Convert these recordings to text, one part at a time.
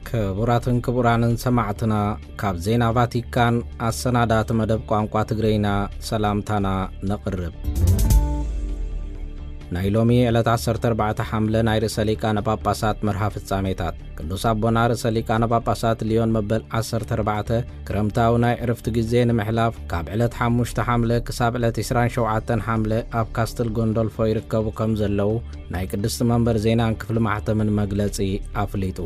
ክቡራትን ክቡራንን ሰማዕትና፣ ካብ ዜና ቫቲካን ኣሰናዳእቲ መደብ ቋንቋ ትግርኛ ሰላምታና ነቕርብ። ናይ ሎሚ ዕለት ዓሰርተ ኣርባዕተ ሓምለ ናይ ርእሰ ሊቃነ ጳጳሳት መርሃ ፍጻሜታት። ቅዱስ ኣቦና ርእሰ ሊቃነ ጳጳሳት ሊዮን መበል ዓሰርተ ኣርባዕተ ክረምታዊ ናይ ዕርፍቲ ግዜ ንምሕላፍ ካብ ዕለት ሓሙሽተ ሓምለ ክሳብ ዕለት ዕስራን ሸውዓተን ሓምለ ኣብ ካስትል ጎንዶልፎ ይርከቡ ከም ዘለዉ ናይ ቅድስቲ መንበር ዜናን ክፍሊ ማሕተምን መግለጺ ኣፍሊጡ።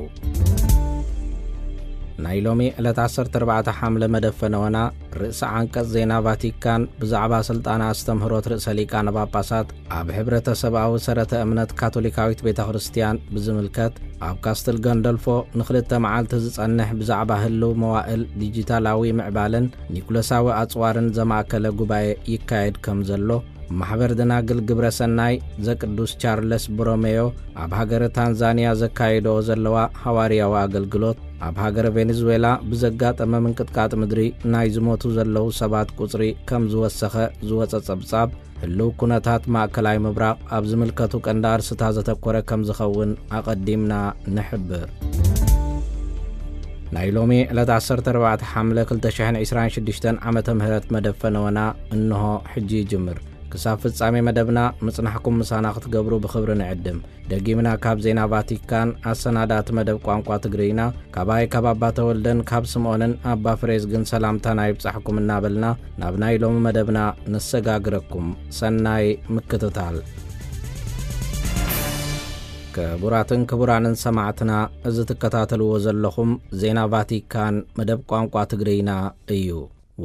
ናይ ሎሚ ዕለት ዓሰርተ ኣርባዕተ ሓምለ መደብ ፈነወና ርእሰ ዓንቀጽ ዜና ቫቲካን ብዛዕባ ስልጣነ ኣስተምህሮት ርእሰ ሊቃነ ጳጳሳት ኣብ ሕብረተሰብኣዊ ሰረተ እምነት ካቶሊካዊት ቤተ ክርስቲያን ብዝምልከት፣ ኣብ ካስትል ገንደልፎ ንኽልተ መዓልቲ ዝጸንሕ ብዛዕባ ህልው መዋእል ዲጂታላዊ ምዕባለን ኒኩለሳዊ ኣጽዋርን ዘማእከለ ጉባኤ ይካየድ ከም ዘሎ፣ ማሕበር ደናግል ግብረ ሰናይ ዘቅዱስ ቻርለስ ቦሮሜዮ ኣብ ሃገረ ታንዛንያ ዘካየድኦ ዘለዋ ሃዋርያዊ ኣገልግሎት፣ ኣብ ሃገረ ቬኔዙዌላ ብዘጋጠመ ምንቅጥቃጥ ምድሪ ናይ ዝሞቱ ዘለዉ ሰባት ቁጽሪ ከም ዝወሰኸ ዝወጸ ጸብጻብ፣ ህልው ኩነታት ማእከላይ ምብራቕ ኣብ ዝምልከቱ ቀንዲ ኣርስታት ዘተኮረ ከም ዝኸውን ኣቐዲምና ንሕብር። ናይ ሎሚ ዕለት ዓሰርተ ኣርባዕተ ሓምለ ክልተ ሽሕን ዕስራን ሽዱሽተን ዓመተ ምህረት መደብ ፈነወና እንሆ ሕጂ ይጅምር። ክሳብ ፍጻሜ መደብና ምጽናሕኩም ምሳና ክትገብሩ ብኽብሪ ንዕድም። ደጊምና ካብ ዜና ቫቲካን ኣሰናዳእቲ መደብ ቋንቋ ትግርኛ፣ ካባይ ካብ ኣባ ተወልደን ካብ ስምኦንን ኣባ ፍሬዝግን ሰላምታና ይብጻሕኩም እናበልና ናብ ናይ ሎሚ መደብና ነሰጋግረኩም። ሰናይ ምክትታል። ክቡራትን ክቡራንን ሰማዕትና፣ እዚ ትከታተልዎ ዘለኹም ዜና ቫቲካን መደብ ቋንቋ ትግርኛ እዩ።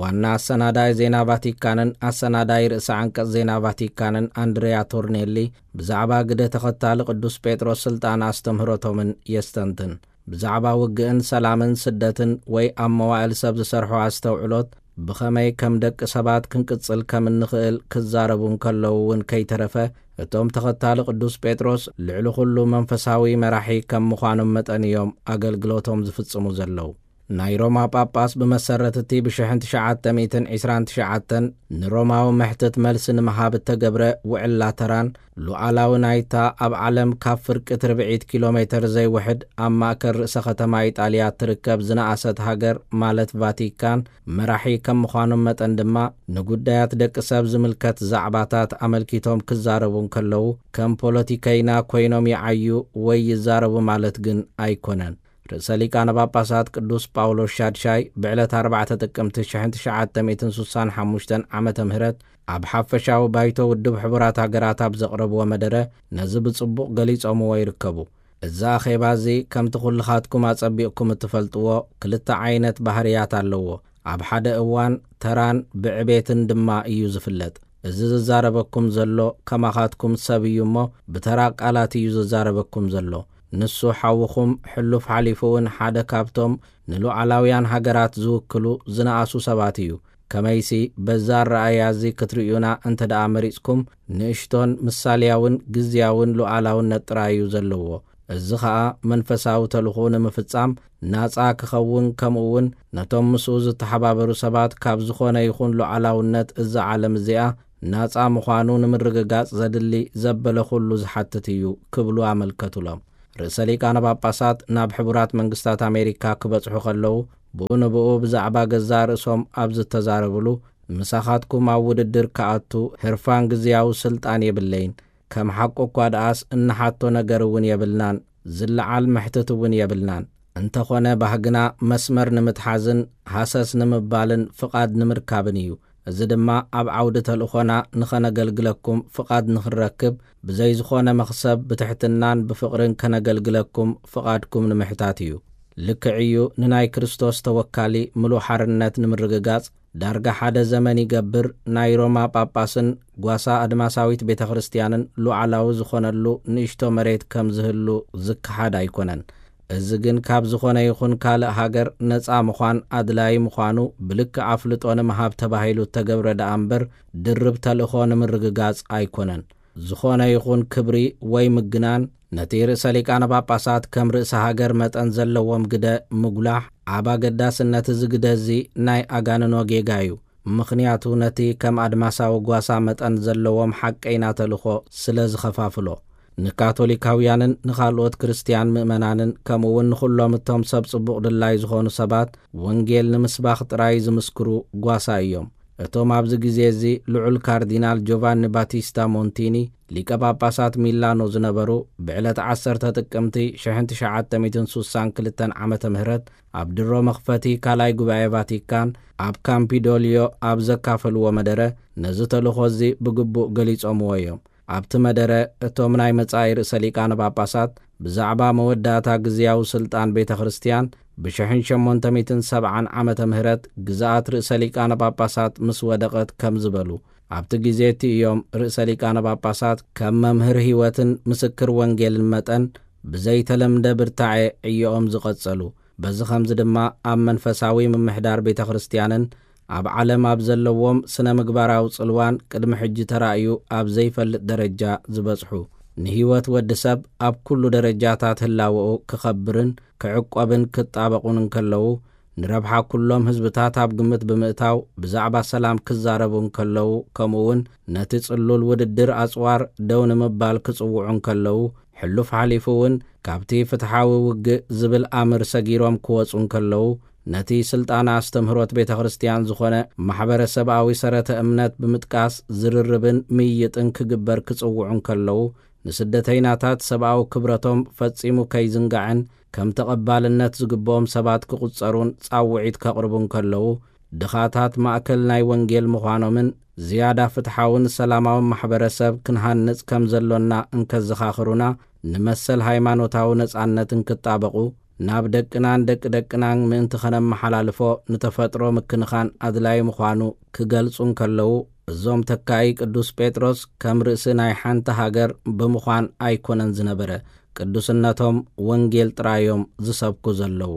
ዋና ኣሰናዳኢ ዜና ቫቲካንን ኣሰናዳኢ ርእሰ ዓንቀጽ ዜና ቫቲካንን ኣንድሪያ ቶርኔሊ ብዛዕባ ግደ ተኸታሊ ቅዱስ ጴጥሮስ ስልጣን ኣስተምህሮቶምን የስተንትን። ብዛዕባ ውግእን ሰላምን ስደትን ወይ ኣብ መዋእል ሰብ ዝሰርሖ ኣስተውዕሎት ብኸመይ ከም ደቂ ሰባት ክንቅጽል ከም እንኽእል ክዛረቡ እንከለዉ እውን ከይተረፈ፣ እቶም ተኸታሊ ቅዱስ ጴጥሮስ ልዕሊ ኩሉ መንፈሳዊ መራሒ ከም ምዃኖም መጠን እዮም ኣገልግሎቶም ዝፍጽሙ ዘለዉ። ናይ ሮማ ጳጳስ ብመሰረት እቲ ብሽሕን ትሽዓተ ሚእትን ዕስራን ትሽዓተን ንሮማዊ መሕትት መልሲ ንምሃብ እተገብረ ውዕል ላተራን፣ ሉዓላዊ ናይታ ኣብ ዓለም ካብ ፍርቂ ትርብዒት ኪሎ ሜተር ዘይውሕድ ኣብ ማእከል ርእሰ ከተማ ኢጣልያ እትርከብ ዝነኣሰት ሃገር ማለት ቫቲካን መራሒ ከም ምዃኖም መጠን ድማ፣ ንጉዳያት ደቂ ሰብ ዝምልከት ዛዕባታት ኣመልኪቶም ክዛረቡ እንከለዉ ከም ፖለቲከይና ኮይኖም ይዓዩ ወይ ይዛረቡ ማለት ግን ኣይኮነን። ርእሰ ሊቃነ ጳጳሳት ቅዱስ ጳውሎስ ሻድሻይ ብዕለት ኣርባዕተ ጥቅምቲ ሽሕን ትሽዓተ ሚእትን ሱሳን ሓሙሽተን ዓመተ ምህረት ኣብ ሓፈሻዊ ባይቶ ውድብ ሕቡራት ሃገራት ኣብ ዘቕረብዎ መደረ ነዚ ብጽቡቕ ገሊጾምዎ ይርከቡ። እዚ ኣኼባ እዚ ከምቲ ኩልኻትኩም ኣጸቢቕኩም እትፈልጥዎ ክልተ ዓይነት ባህርያት ኣለዎ። ኣብ ሓደ እዋን ተራን ብዕቤትን ድማ እዩ ዝፍለጥ። እዚ ዝዛረበኩም ዘሎ ከማኻትኩም ሰብ እዩ እሞ ብተራ ቃላት እዩ ዝዛረበኩም ዘሎ። ንሱ ሓውኹም ሕሉፍ ሓሊፉ እውን ሓደ ካብቶም ንሉዓላውያን ሃገራት ዝውክሉ ዝነኣሱ ሰባት እዩ። ከመይሲ በዛ ኣረኣእያ እዚ ክትርእዩና እንተ ደኣ መሪጽኩም፣ ንእሽቶን ምሳልያውን ግዝያውን ሉዓላውነት ጥራይ እዩ ዘለዎ። እዚ ኸኣ መንፈሳዊ ተልእኾኡ ንምፍጻም ናጻ ክኸውን፣ ከምኡ እውን ነቶም ምስኡ ዝተሓባበሩ ሰባት ካብ ዝኾነ ይኹን ሉዓላውነት እዛ ዓለም እዚኣ ናጻ ምዃኑ ንምርግጋጽ ዘድሊ ዘበለ ኩሉ ዝሓትት እዩ ክብሉ ኣመልከቱሎም። ርእሰ ሊቃነ ጳጳሳት ናብ ሕቡራት መንግስታት ኣሜሪካ ክበጽሑ ከለዉ ብኡ ንብኡ ብዛዕባ ገዛእ ርእሶም ኣብ ዝተዛረብሉ ምሳኻትኩም ኣብ ውድድር ክኣቱ ህርፋን ግዝያዊ ስልጣን የብለይን። ከም ሓቁ እኳ ደኣስ እንሓቶ ነገር እውን የብልናን፣ ዝለዓል መሕትት እውን የብልናን። እንተኾነ ባህግና መስመር ንምትሓዝን ሃሰስ ንምባልን ፍቓድ ንምርካብን እዩ። እዚ ድማ ኣብ ዓውዲ ተልእኾና ንኸነገልግለኩም ፍቓድ ንኽንረክብ፣ ብዘይ ዝኾነ መኽሰብ ብትሕትናን ብፍቕርን ከነገልግለኩም ፍቓድኩም ንምሕታት እዩ። ልክዕ እዩ፣ ንናይ ክርስቶስ ተወካሊ ምሉእ ሓርነት ንምርግጋጽ ዳርጋ ሓደ ዘመን ይገብር ናይ ሮማ ጳጳስን ጓሳ ኣድማሳዊት ቤተ ክርስቲያንን ሉዓላዊ ዝኾነሉ ንእሽቶ መሬት ከም ዝህሉ ዝከሓድ ኣይኮነን። እዚ ግን ካብ ዝኾነ ይኹን ካልእ ሃገር ነጻ ምዃን ኣድላዪ ምዃኑ ብልክዕ ኣፍልጦ ንምሃብ ተባሂሉ እተገብረ ደኣ እምበር ድርብ ተልእኾ ንምርግጋጽ ኣይኮነን። ዝኾነ ይኹን ክብሪ ወይ ምግናን ነቲ ርእሰ ሊቃነ ጳጳሳት ከም ርእሰ ሃገር መጠን ዘለዎም ግደ ምጉላሕ ኣብ ኣገዳስነት እዚ ግደ እዚ ናይ ኣጋንኖ ጌጋ እዩ። ምኽንያቱ ነቲ ከም ኣድማሳዊ ጓሳ መጠን ዘለዎም ሓቀይና ተልእኾ ስለ ዝኸፋፍሎ። ንካቶሊካውያንን ንኻልኦት ክርስትያን ምእመናንን፣ ከምኡ እውን ንኹሎም እቶም ሰብ ጽቡቕ ድላይ ዝኾኑ ሰባት፣ ወንጌል ንምስባኽ ጥራይ ዝምስክሩ ጓሳ እዮም። እቶም ኣብዚ ግዜ እዚ ልዑል ካርዲናል ጆቫኒ ባቲስታ ሞንቲኒ፣ ሊቀ ጳጳሳት ሚላኖ ዝነበሩ፣ ብዕለት ዓሰርተ ጥቅምቲ ሽሕን ትሽዓተ ሚእትን ሱሳን ክልተን ዓመተ ምህረት ኣብ ድሮ መኽፈቲ ካልኣይ ጉባኤ ቫቲካን ኣብ ካምፒዶልዮ ኣብ ዘካፈልዎ መደረ፣ ነዚ ተልእኾ እዚ ብግቡእ ገሊጾምዎ እዮም። ኣብቲ መደረ፣ እቶም ናይ መጻኢ ርእሰ ሊቃነ ጳጳሳት ብዛዕባ መወዳእታ ግዝያዊ ስልጣን ቤተ ክርስቲያን፣ ብሽሕን ሸሞንተ ሚእትን ሰብዓን ዓመተ ምህረት ግዝኣት ርእሰ ሊቃነ ጳጳሳት ምስ ወደቐት ከም ዝበሉ፣ ኣብቲ ግዜ እቲ እዮም ርእሰ ሊቃነ ጳጳሳት ከም መምህር ህይወትን ምስክር ወንጌልን መጠን ብዘይተለምደ ብርታዐ ዕዮኦም ዝቐጸሉ። በዚ ኸምዚ ድማ ኣብ መንፈሳዊ ምምሕዳር ቤተ ክርስቲያንን ኣብ ዓለም ኣብ ዘለዎም ስነ ምግባራዊ ጽልዋን ቅድሚ ሕጂ ተራእዩ ኣብ ዘይፈልጥ ደረጃ ዝበጽሑ፣ ንህይወት ወዲ ሰብ ኣብ ኩሉ ደረጃታት ህላወኡ ክኸብርን ክዕቆብን ክጣበቑን እንከለዉ፣ ንረብሓ ኩሎም ህዝብታት ኣብ ግምት ብምእታው ብዛዕባ ሰላም ክዛረቡ እንከለዉ፣ ከምኡ እውን ነቲ ጽሉል ውድድር ኣጽዋር ደው ንምባል ክጽውዑ እንከለዉ፣ ሕሉፍ ሓሊፉ እውን ካብቲ ፍትሓዊ ውግእ ዝብል ኣምር ሰጊሮም ክወጹ እንከለዉ፣ ነቲ ስልጣን ኣስተምህሮት ቤተ ክርስቲያን ዝኾነ ማሕበረሰብኣዊ ሰረተ እምነት ብምጥቃስ ዝርርብን ምይይጥን ክግበር ክጽውዑ እንከለዉ፣ ንስደተይናታት ሰብኣዊ ክብረቶም ፈጺሙ ከይዝንጋዕን ከም ተቐባልነት ዝግብኦም ሰባት ክቑጸሩን ጻውዒት ከቕርቡ እንከለዉ፣ ድኻታት ማእከል ናይ ወንጌል ምዃኖምን ዝያዳ ፍትሓውን ሰላማውን ማሕበረሰብ ክንሃንጽ ከም ዘሎና እንከዘኻኽሩና፣ ንመሰል ሃይማኖታዊ ነጻነትን ክጣበቑ፣ ናብ ደቅናን ደቂ ደቅናን ምእንቲ ኸነመሓላልፎ ንተፈጥሮ ምክንኻን ኣድላዪ ምዃኑ ክገልጹ እንከለዉ፣ እዞም ተካኢ ቅዱስ ጴጥሮስ ከም ርእሲ ናይ ሓንቲ ሃገር ብምዃን ኣይኮነን ዝነበረ፣ ቅዱስነቶም ወንጌል ጥራዮም ዝሰብኩ ዘለዉ።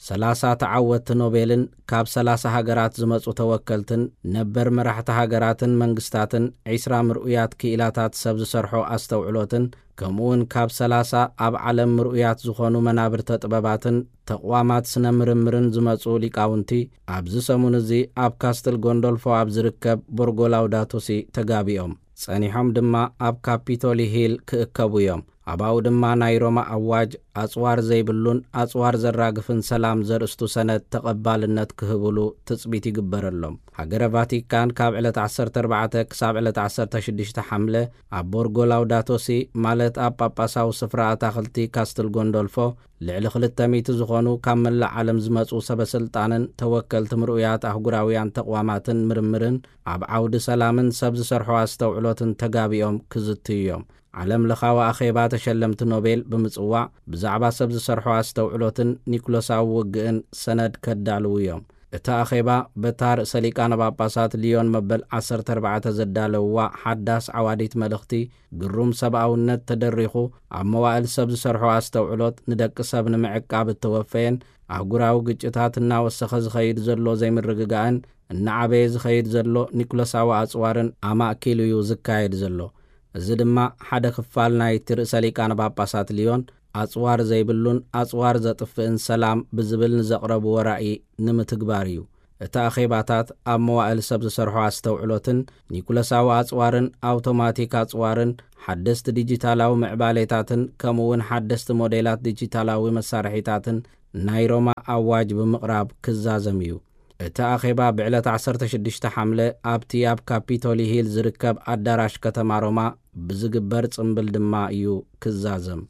ሰላሳ ተዓወትቲ ኖቤልን ካብ ሰላሳ ሃገራት ዝመጹ ተወከልትን ነበር መራሕቲ ሃገራትን መንግስታትን፣ ዒስራ ምርኡያት ክኢላታት ሰብ ዝሰርሖ ኣስተውዕሎትን፣ ከምኡውን ካብ ሰላሳ ኣብ ዓለም ምርኡያት ዝኾኑ መናብርተ ጥበባትን ተቕዋማት ስነ ምርምርን ዝመጹ ሊቃውንቲ፣ ኣብዚ ሰሙን እዚ ኣብ ካስትል ጎንዶልፎ ኣብ ዝርከብ ቦርጎ ላውዳቶ ሲ ተጋቢኦም። ጸኒሖም ድማ ኣብ ካፒቶሊ ሂል ክእከቡ እዮም። ኣብኡ ድማ ናይ ሮማ ኣዋጅ ኣጽዋር ዘይብሉን ኣጽዋር ዘራግፍን ሰላም ዘርእስቱ ሰነድ ተቐባልነት ክህብሉ ትጽቢት ይግበረሎም። ሃገረ ቫቲካን ካብ ዕለት ዓሰርተ ኣርባዕተ ክሳብ ዕለት ዓሰርተ ሽዱሽተ ሓምለ ኣብ ቦርጎ ላውዳቶ ሲ፣ ማለት ኣብ ጳጳሳዊ ስፍራ ኣታኽልቲ ካስትል ጎንዶልፎ፣ ልዕሊ ክልተ ሚእቲ ዝኾኑ ካብ መላእ ዓለም ዝመጹ ሰበ ስልጣንን ተወከልቲ ምርኡያት ኣህጉራውያን ተቕዋማትን ምርምርን ኣብ ዓውዲ ሰላምን ሰብ ዝሰርሖ ኣስተውዕሎትን ተጋቢኦም ክዝትዩ እዮም። ዓለም ለኻዊ ኣኼባ ተሸለምቲ ኖቤል ብምጽዋዕ፣ ብዛዕባ ሰብ ዝሰርሖ ኣስተውዕሎትን ኒኩለሳዊ ውግእን ሰነድ ከዳልዉ እዮም። እቲ ኣኼባ በታ ርእሰ ሊቃነ ጳጳሳት ሊዮን መበል ዓሰርተ ኣርባዕተ ዘዳለውዋ ሓዳስ ዓዋዲት መልእኽቲ ግሩም ሰብኣውነት ተደሪኹ፣ ኣብ መዋእል ሰብ ዝሰርሖ ኣስተውዕሎት ንደቂ ሰብ ንምዕቃብ እተወፈየን፣ ኣህጉራዊ ግጭታት እናወሰኸ ዝኸይድ ዘሎ ዘይምርግጋእን እናዓበየ ዝኸይድ ዘሎ ኒኩለሳዊ ኣጽዋርን ኣማእኪሉ እዩ ዝካየድ ዘሎ። እዚ ድማ ሓደ ክፋል ናይቲ ርእሰ ሊቃነ ጳጳሳት ሊዮን ኣጽዋር ዘይብሉን ኣጽዋር ዘጥፍእን ሰላም ብዝብል ንዘቕረብዎ ራእይ ንምትግባር እዩ። እቲ ኣኼባታት ኣብ መዋእል ሰብ ዝሰርሖ ኣስተውዕሎትን ኒኩለሳዊ ኣጽዋርን ኣውቶማቲክ ኣጽዋርን ሓደስቲ ዲጂታላዊ ምዕባሌታትን ከምኡ እውን ሓደስቲ ሞዴላት ዲጂታላዊ መሳርሒታትን ናይ ሮማ ኣዋጅ ብምቕራብ ክዛዘም እዩ። እቲ ኣኼባ ብዕለት ዓሰርተ ሽዱሽተ ሓምለ ኣብቲ ኣብ ካፒቶሊ ሂል ዝርከብ ኣዳራሽ ከተማ ሮማ ብዝግበር ጽምብል ድማ እዩ ክዛዘም።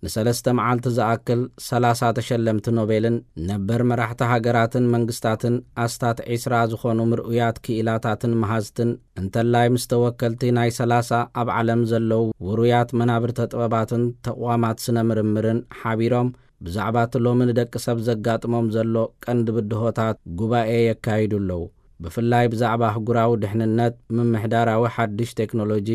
ንሰለስተ መዓልቲ ዝኣክል ሰላሳ ተሸለምቲ ኖቤልን ነበር መራሕቲ ሃገራትን መንግስታትን ኣስታት ዒስራ ዝኾኑ ምርኡያት ክኢላታትን መሃዝትን እንተላይ ምስ ተወከልቲ ናይ ሰላሳ ኣብ ዓለም ዘለዉ ውሩያት መናብርተ ጥበባትን ተቕዋማት ስነ ምርምርን ሓቢሮም ብዛዕባ እቲ ሎሚ ንደቂ ሰብ ዘጋጥሞም ዘሎ ቀንዲ ብድሆታት ጉባኤ የካይዱ ኣለዉ። ብፍላይ ብዛዕባ ኣህጉራዊ ድሕንነት፣ ምምሕዳራዊ ሓድሽ ቴክኖሎጂ፣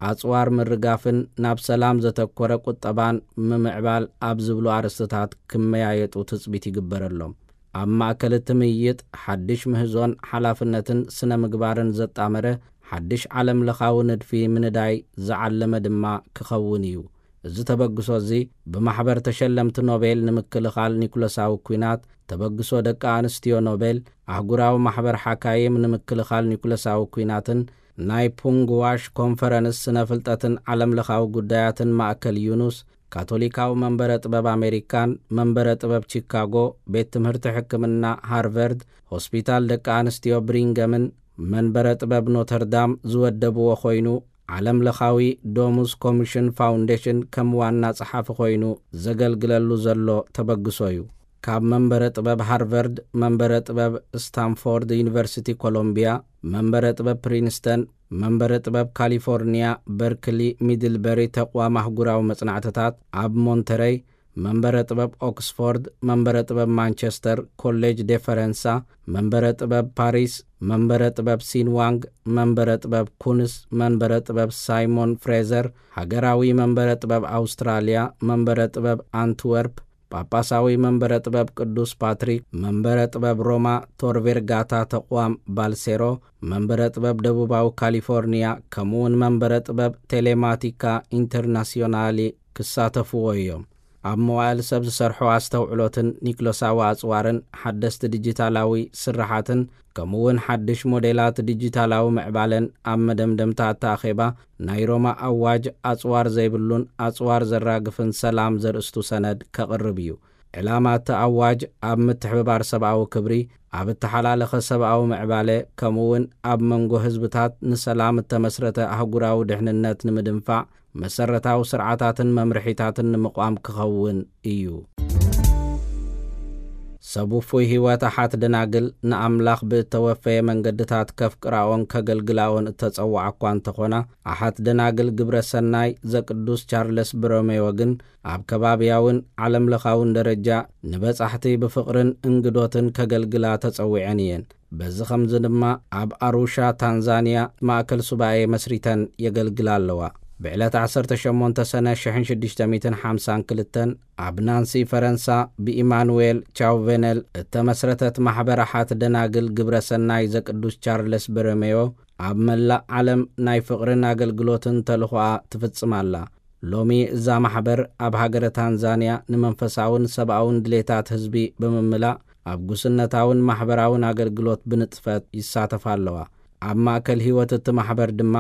ኣጽዋር ምርጋፍን ናብ ሰላም ዘተኮረ ቁጠባን ምምዕባል ኣብ ዝብሉ ኣርእስትታት ክመያየጡ ትጽቢት ይግበረሎም። ኣብ ማእከል እቲ ምይይጥ፣ ሓድሽ ምህዞን ሓላፍነትን ስነ ምግባርን ዘጣመረ ሓድሽ ዓለም ለኻዊ ንድፊ ምንዳይ ዝዓለመ ድማ ክኸውን እዩ። እዚ ተበግሶ እዚ ብማሕበር ተሸለምቲ ኖቤል ንምክልኻል ኒኩለሳዊ ኲናት፣ ተበግሶ ደቂ ኣንስትዮ ኖቤል፣ ኣህጉራዊ ማሕበር ሓካይም ንምክልኻል ኒኩለሳዊ ኲናትን ናይ ፑንግዋሽ ኮንፈረንስ ስነ ፍልጠትን ዓለምለኻዊ ጉዳያትን ማእከል ዩኑስ፣ ካቶሊካዊ መንበረ ጥበብ ኣሜሪካን መንበረ ጥበብ ቺካጎ፣ ቤት ትምህርቲ ሕክምና ሃርቨርድ፣ ሆስፒታል ደቂ ኣንስትዮ ብሪንገምን መንበረ ጥበብ ኖተርዳም ዝወደብዎ ኮይኑ፣ ዓለምለኻዊ ዶሙስ ኮሚሽን ፋውንዴሽን ከም ዋና ጸሓፊ ኮይኑ ዘገልግለሉ ዘሎ ተበግሶ እዩ። ካብ መንበረ ጥበብ ሃርቨርድ፣ መንበረ ጥበብ ስታንፎርድ ዩኒቨርሲቲ ኮሎምቢያ፣ መንበረ ጥበብ ፕሪንስተን፣ መንበረ ጥበብ ካሊፎርኒያ በርክሊ ሚድልበሪ ተቋም ኣህጉራዊ መጽናዕትታት ኣብ ሞንተረይ፣ መንበረ ጥበብ ኦክስፎርድ፣ መንበረ ጥበብ ማንቸስተር፣ ኮሌጅ ዴፈረንሳ፣ መንበረ ጥበብ ፓሪስ፣ መንበረ ጥበብ ሲንዋንግ፣ መንበረ ጥበብ ኩንስ፣ መንበረ ጥበብ ሳይሞን ፍሬዘር፣ ሃገራዊ መንበረ ጥበብ ኣውስትራልያ፣ መንበረ ጥበብ ኣንትወርፕ፣ ጳጳሳዊ መንበረ ጥበብ ቅዱስ ፓትሪክ፣ መንበረ ጥበብ ሮማ፣ ቶር ቬርጋታ ተቋም ባልሴሮ፣ መንበረ ጥበብ ደቡባዊ ካሊፎርኒያ፣ ከምኡውን መንበረ ጥበብ ቴሌማቲካ ኢንተርናሲዮናሊ ክሳተፍዎ እዮም። ኣብ መዋእል ሰብ ዝሰርሑ ኣስተውዕሎትን ኒክሎሳዊ ኣጽዋርን ሓደስቲ ዲጂታላዊ ስርሓትን፣ ከምኡውን ሓድሽ ሞዴላት ዲጂታላዊ ምዕባለን ኣብ መደምደምታ እታ ኣኼባ ናይ ሮማ ኣዋጅ ኣጽዋር ዘይብሉን ኣጽዋር ዘራግፍን ሰላም ዘርእስቱ ሰነድ ከቕርብ እዩ። ዕላማ እቲ ኣዋጅ ኣብ ምትሕብባር ሰብኣዊ ክብሪ፣ ኣብ እተሓላለኸ ሰብኣዊ ምዕባለ፣ ከምኡውን ኣብ መንጎ ህዝብታት ንሰላም እተመስረተ ኣህጉራዊ ድሕንነት ንምድንፋዕ መሰረታዊ ስርዓታትን መምርሒታትን ንምቋም ክኸውን እዩ። ሰብ ውፉይ ህይወት ኣሓት ደናግል ንኣምላኽ ብእተወፈየ መንገድታት ከፍቅራኦን ከገልግላኦን እተጸውዓ እኳ እንተኾና፣ ኣሓት ደናግል ግብረ ሰናይ ዘቅዱስ ቻርለስ ብሮሜዮ ግን ኣብ ከባብያውን ዓለምለኻውን ደረጃ ንበጻሕቲ ብፍቕርን እንግዶትን ከገልግላ ተጸዊዐን እየን። በዚ ኸምዚ ድማ ኣብ ኣሩሻ ታንዛንያ ማእከል ሱባኤ መስሪተን የገልግላ ኣለዋ። ብዕለት ዓሰርተ ሸሞንተ ሰነ ሽሕን ሽዱሽተ ሚእትን ሓምሳን ክልተን ኣብ ናንሲ ፈረንሳ ብኢማኑዌል ቻውቬነል እተመስረተት ማሕበር ኣሓት ደናግል ግብረ ሰናይ ዘቅዱስ ቻርለስ በረሜዮ ኣብ መላእ ዓለም ናይ ፍቕርን ኣገልግሎትን ተልኾኣ ትፍጽም ኣላ። ሎሚ እዛ ማሕበር ኣብ ሃገረ ታንዛንያ ንመንፈሳውን ሰብኣውን ድሌታት ህዝቢ ብምምላእ ኣብ ጉስነታውን ማሕበራውን ኣገልግሎት ብንጥፈት ይሳተፋ ኣለዋ። ኣብ ማእከል ህይወት እቲ ማሕበር ድማ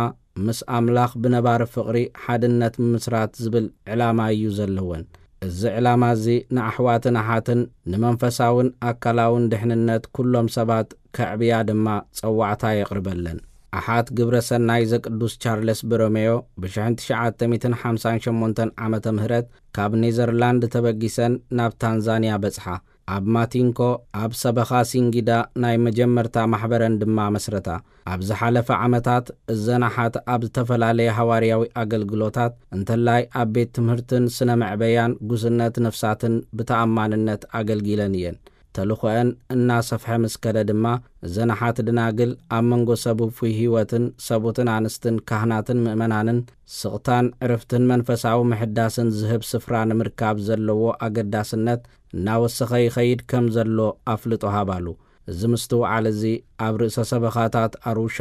ምስ ኣምላኽ ብነባሪ ፍቕሪ ሓድነት ምምስራት ዝብል ዕላማ እዩ ዘለወን። እዚ ዕላማ እዚ ንኣሕዋትን ኣሓትን ንመንፈሳውን ኣካላውን ድሕንነት ኩሎም ሰባት ከዕብያ ድማ ጸዋዕታ የቕርበለን። ኣሓት ግብረ ሰናይ ዘቅዱስ ቻርለስ በሮሜዮ ብሽሕን ትሽዓተ ሚእትን ሓምሳን ሸሞንተን ዓመተ ምህረት ካብ ኔዘርላንድ ተበጊሰን ናብ ታንዛንያ በጽሓ። ኣብ ማቲንኮ ኣብ ሰበኻ ሲንጊዳ ናይ መጀመርታ ማሕበረን ድማ መስረታ። ኣብ ዝሓለፈ ዓመታት እዘን ኣሓት ኣብ ዝተፈላለየ ሃዋርያዊ ኣገልግሎታት እንተላይ ኣብ ቤት ትምህርትን ስነ መዕበያን ጉስነት ነፍሳትን ብተኣማንነት ኣገልጊለን እየን። ተልኾአን እናሰፍሐ ምስ ከደ ድማ እዘን ኣሓት ደናግል ኣብ መንጎ ሰብ ውፉይ ህይወትን ሰቡትን ኣንስትን ካህናትን ምእመናንን ስቕታን ዕርፍትን መንፈሳዊ ምሕዳስን ዝህብ ስፍራ ንምርካብ ዘለዎ ኣገዳስነት እናወሰኸ ይኸይድ ከም ዘሎ ኣፍልጦ ሃባሉ። እዚ ምስትውዓል እዚ ኣብ ርእሰ ሰበኻታት ኣሩሻ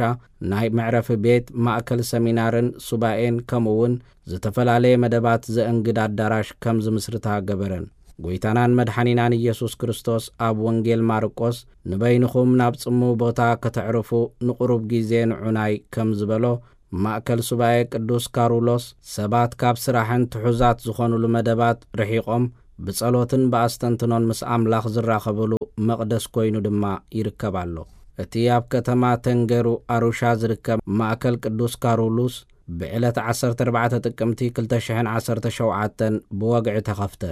ናይ መዕረፊ ቤት፣ ማእከል ሰሚናርን ሱባኤን ከምኡ እውን ዝተፈላለየ መደባት ዘእንግድ ኣዳራሽ ከም ዝምስርታ ገበረን። ጎይታናን መድሓኒናን ኢየሱስ ክርስቶስ ኣብ ወንጌል ማርቆስ ንበይንኹም ናብ ጽምው ቦታ ከተዕርፉ ንቑሩብ ግዜ ንዑናይ ከም ዝበሎ፣ ማእከል ሱባኤ ቅዱስ ካሩሎስ ሰባት ካብ ስራሕን ትሑዛት ዝኾኑሉ መደባት ርሒቖም ብጸሎትን ብኣስተንትኖን ምስ ኣምላኽ ዝራኸብሉ መቕደስ ኮይኑ ድማ ይርከብ ኣሎ። እቲ ኣብ ከተማ ተንገሩ ኣሩሻ ዝርከብ ማእከል ቅዱስ ካሩሉስ ብዕለት ዓሰርተ ኣርባዕተ ጥቅምቲ ክልተ ሽሕን ዓሰርተ ሸውዓተን ብወግዒ ተኸፍተ።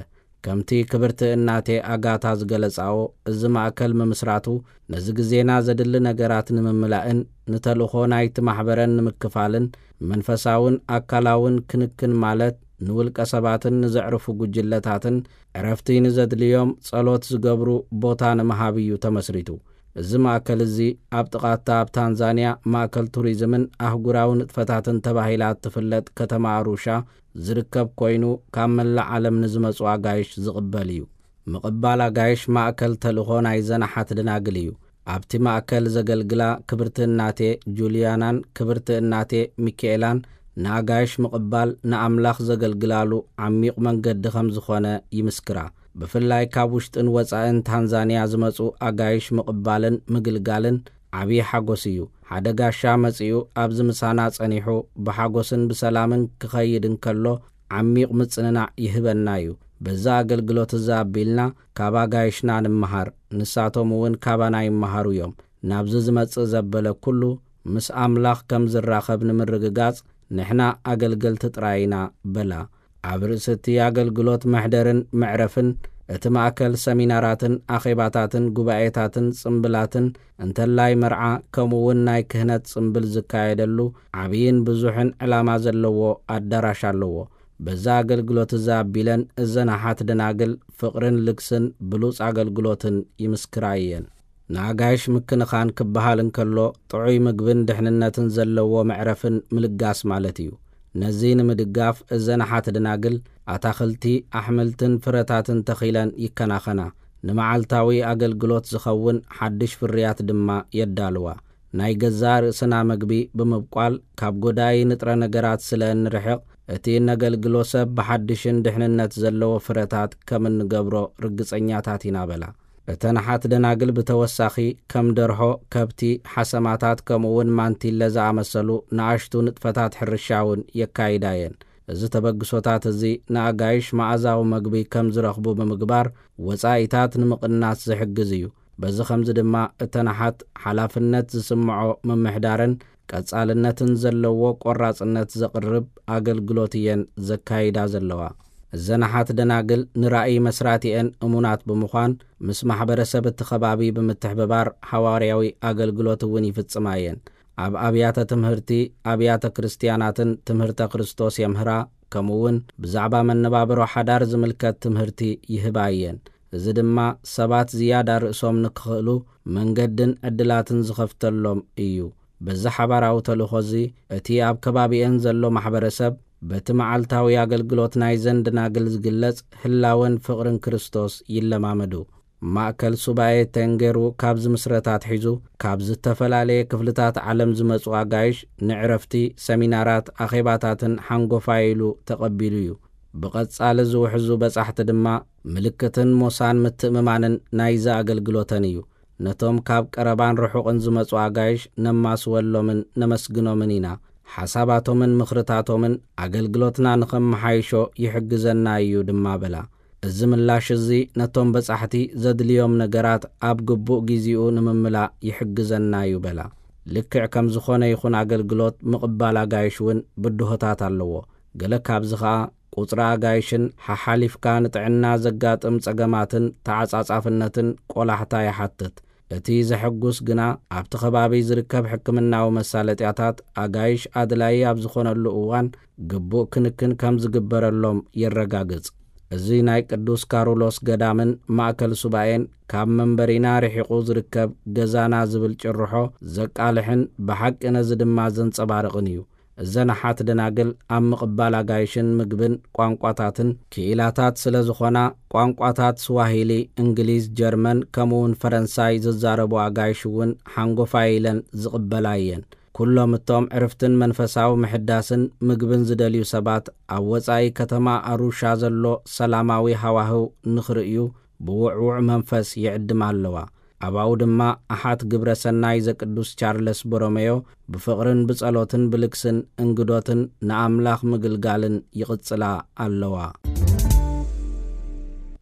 ከምቲ ክብርቲ እናቴ ኣጋታ ዝገለጻኦ፣ እዚ ማእከል ምምስራቱ ነዚ ግዜና ዘድሊ ነገራት ንምምላእን ንተልእኾ ናይቲ ማሕበረን ንምክፋልን መንፈሳውን ኣካላውን ክንክን ማለት ንውልቀ ሰባትን ንዘዕርፉ ጉጅለታትን ዕረፍቲ ንዘድልዮም ጸሎት ዝገብሩ ቦታ ንምሃብ እዩ ተመስሪቱ። እዚ ማእከል እዚ ኣብ ጥቓታ ኣብ ታንዛንያ ማእከል ቱሪዝምን ኣህጉራዊ ንጥፈታትን ተባሂላ እትፍለጥ ከተማ ኣሩሻ ዝርከብ ኮይኑ፣ ካብ መላእ ዓለም ንዝመጹ ኣጋይሽ ዝቕበል እዩ። ምቕባል ኣጋይሽ ማእከል ተልእኾ ናይ ዘናሓት ደናግል እዩ። ኣብቲ ማእከል ዘገልግላ ክብርቲ እናቴ ጁልያናን ክብርቲ እናቴ ሚካኤላን ንኣጋይሽ ምቕባል ንኣምላኽ ዘገልግላሉ ዓሚቕ መንገዲ ከም ዝኾነ ይምስክራ። ብፍላይ ካብ ውሽጥን ወጻእን ታንዛንያ ዝመጹ ኣጋይሽ ምቕባልን ምግልጋልን ዓብዪ ሓጎስ እዩ። ሓደ ጋሻ መጺኡ ኣብዚ ምሳና ጸኒሑ ብሓጎስን ብሰላምን ክኸይድ እንከሎ ዓሚቕ ምጽንናዕ ይህበና እዩ። በዛ ኣገልግሎት እዛ ኣቢልና ካብ ኣጋይሽና ንምሃር፣ ንሳቶም እውን ካባና ይመሃሩ እዮም። ናብዚ ዝመጽእ ዘበለ ኩሉ ምስ ኣምላኽ ከም ዝራኸብ ንምርግጋጽ ንሕና ኣገልገልቲ ጥራይ ኢና በላ። ኣብ ርእሲ እቲ ኣገልግሎት መሕደርን መዕረፍን እቲ ማእከል ሰሚናራትን ኣኼባታትን ጉባኤታትን ጽምብላትን እንተላይ መርዓ ከምኡ እውን ናይ ክህነት ጽምብል ዝካየደሉ ዓብይን ብዙሕን ዕላማ ዘለዎ ኣዳራሽ ኣለዎ። በዛ ኣገልግሎት እዛ ኣቢለን እዘን ኣሓት ደናግል ፍቕርን ልግስን ብሉጽ ኣገልግሎትን ይምስክራ እየን። ንኣጋይሽ ምክንኻን ክበሃል እንከሎ ጥዑይ ምግብን ድሕንነትን ዘለዎ መዕረፍን ምልጋስ ማለት እዩ። ነዚ ንምድጋፍ እዘን ኣሓት ደናግል ኣታኽልቲ፣ ኣሕምልትን ፍረታትን ተኺለን ይከናኸና። ንመዓልታዊ ኣገልግሎት ዝኸውን ሓድሽ ፍርያት ድማ የዳልዋ። ናይ ገዛእ ርእስና መግቢ ብምብቋል ካብ ጎዳኢ ንጥረ ነገራት ስለ እንርሕቕ እቲ እነገልግሎ ሰብ ብሓድሽን ድሕንነት ዘለዎ ፍረታት ከም እንገብሮ ርግጸኛታት ኢና በላ። እተን ኣሓት ደናግል ብተወሳኺ ከም ደርሆ፣ ከብቲ፣ ሓሰማታት ከምኡ እውን ማንቲለ ዝኣመሰሉ ንኣሽቱ ንጥፈታት ሕርሻ እውን የካይዳ እየን። እዚ ተበግሶታት እዚ ንኣጋይሽ መኣዛዊ መግቢ ከም ዝረኽቡ ብምግባር ወጻኢታት ንምቕናስ ዝሕግዝ እዩ። በዚ ኸምዚ ድማ እተን ኣሓት ሓላፍነት ዝስምዖ ምምሕዳርን ቀጻልነትን ዘለዎ ቆራጽነት ዘቕርብ ኣገልግሎት እየን ዘካይዳ ዘለዋ። እዘን ኣሓት ደናግል ንራእይ መስራቲኤን እሙናት ብምዃን ምስ ማሕበረሰብ እቲ ኸባቢ ብምትሕብባር ሃዋርያዊ ኣገልግሎት እውን ይፍጽማ እየን። ኣብ ኣብያተ ትምህርቲ፣ ኣብያተ ክርስትያናትን ትምህርተ ክርስቶስ የምህራ፣ ከምኡ እውን ብዛዕባ መነባብሮ ሓዳር ዝምልከት ትምህርቲ ይህባ እየን። እዚ ድማ ሰባት ዝያዳ ርእሶም ንክኽእሉ መንገድን ዕድላትን ዝኸፍተሎም እዩ። በዚ ሓባራዊ ተልእኾ እዚ እቲ ኣብ ከባቢኤን ዘሎ ማሕበረሰብ በቲ መዓልታዊ ኣገልግሎት ናይዘን ደናግል ዝግለጽ ህላወን ፍቕርን ክርስቶስ ይለማመዱ። ማእከል ሱባኤ ተንጌሩ ካብ ዝምስረት ኣትሒዙ ካብ ዝተፈላለየ ክፍልታት ዓለም ዝመጹ ኣጋይሽ ንዕረፍቲ፣ ሰሚናራት፣ ኣኼባታትን ሓንጎፋይ ኢሉ ተቐቢሉ እዩ። ብቐጻሊ ዝውሕዙ በጻሕቲ ድማ ምልክትን ሞሳን ምትእምማንን ናይዚ ኣገልግሎተን እዩ። ነቶም ካብ ቀረባን ርሑቕን ዝመጹ ኣጋይሽ ነማስወሎምን ነመስግኖምን ኢና። ሓሳባቶምን ምኽርታቶምን ኣገልግሎትና ንኸመሓይሾ ይሕግዘና እዩ ድማ በላ። እዚ ምላሽ እዚ ነቶም በጻሕቲ ዘድልዮም ነገራት ኣብ ግቡእ ግዜኡ ንምምላእ ይሕግዘና እዩ በላ። ልክዕ ከም ዝኾነ ይኹን ኣገልግሎት ምቕባል ኣጋይሽ እውን ብድሆታት ኣለዎ። ገለ ካብዚ ኸኣ ቁጽሪ ኣጋይሽን ሓሓሊፍካ ንጥዕና ዘጋጥም ጸገማትን ተዓጻጻፍነትን ቆላሕታ ይሓትት። እቲ ዘሐጉስ ግና ኣብቲ ከባቢ ዝርከብ ሕክምናዊ መሳለጥያታት ኣጋይሽ ኣድላዪ ኣብ ዝኾነሉ እዋን ግቡእ ክንክን ከም ዝግበረሎም የረጋግጽ። እዚ ናይ ቅዱስ ካሩሎስ ገዳምን ማእከል ሱባኤን ካብ መንበሪና ርሒቑ ዝርከብ ገዛና ዝብል ጭርሖ ዘቃልሕን ብሓቂ ነዚ ድማ ዘንጸባርቕን እዩ። እዘን ኣሓት ደናግል ኣብ ምቕባል ኣጋይሽን ምግብን ቋንቋታትን ክኢላታት ስለ ዝኾና ቋንቋታት ስዋሂሊ፣ እንግሊዝ፣ ጀርመን ከምኡውን ፈረንሳይ ዝዛረቡ ኣጋይሽ እውን ሓንጎፋይ ኢለን ዝቕበላ እየን። ኩሎም እቶም ዕርፍትን መንፈሳዊ ምሕዳስን ምግብን ዝደልዩ ሰባት ኣብ ወጻኢ ከተማ ኣሩሻ ዘሎ ሰላማዊ ሃዋህው ንኽርእዩ ብውዕዉዕ መንፈስ ይዕድማ ኣለዋ። ኣባኡ ድማ ኣሓት ግብረ ሰናይ ዘቅዱስ ቻርለስ ቦሮሜዮ ብፍቕርን ብጸሎትን ብልግስን እንግዶትን ንኣምላኽ ምግልጋልን ይቕጽላ ኣለዋ።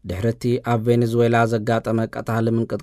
ድሕሪ እቲ ኣብ ቬኔዙዌላ ዘጋጠመ ቀታሊ ምንቅጥቃጥ